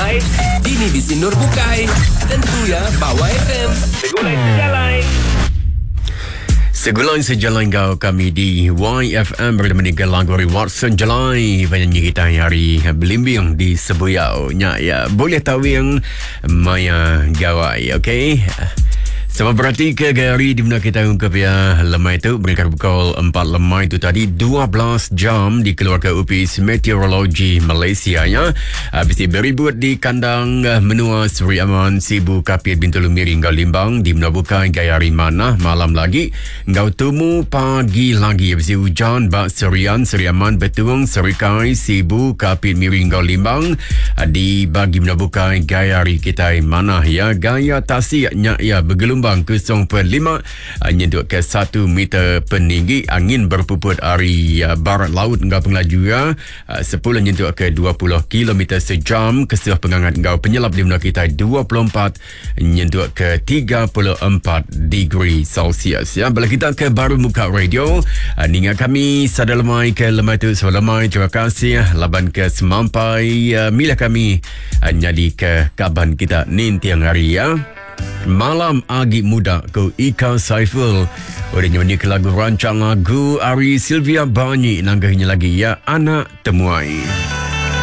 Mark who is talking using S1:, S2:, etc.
S1: lemai, dini bisi endur bukai. Tentu ya ba YFM. Segulai sejalai.
S2: Segulai sejalai enggau kami di YFM bertemu dengan lagu ari Watson Jelai penyanyi kita hari belimbing di Sebuyau. Nya ya, boleh tawing maya gawai, okey? Sama berarti ke gari di mana kita ungkap ya lemai tu berikar pukul 4 lemai tu tadi 12 jam dikeluarkan Upis Meteorologi Malaysia ya. Habis beribut di kandang eh, menua Seri Aman, Sibu, Kapit, Bintulu, Miri enggau Limbang di menua bukai gaya hari manah malam lagi enggau tumu pagi lagi habis hujan ba Serian, Seri Aman, Betung, Serikai, Sibu, Kapit, Miri enggau Limbang eh, di bagi menua bukai gaya hari kitai manah ya gaya tasik nya ya bergelombang 0.5 eh, nyentuk ke 1 meter peninggi angin berpuput ari eh, barat laut enggau pengelaju ya 10 nyentuk ke 20 km sejam kesuh pengangat enggau penyelap di menua kita 24 nyentuk ke 34 degree Celsius ya bala kita ke baru muka radio ah, ninga kami sada lemai ke lemai tu so lemai terima kasih laban ke semampai ah, milah kami ah, nyadi ke kaban kita ninting hari ya Malam Agi Muda ku Ika Saiful. Udah nyanyi ke lagu rancang lagu Ari Sylvia Banyi nanggahnya lagi ya Anak Temuai.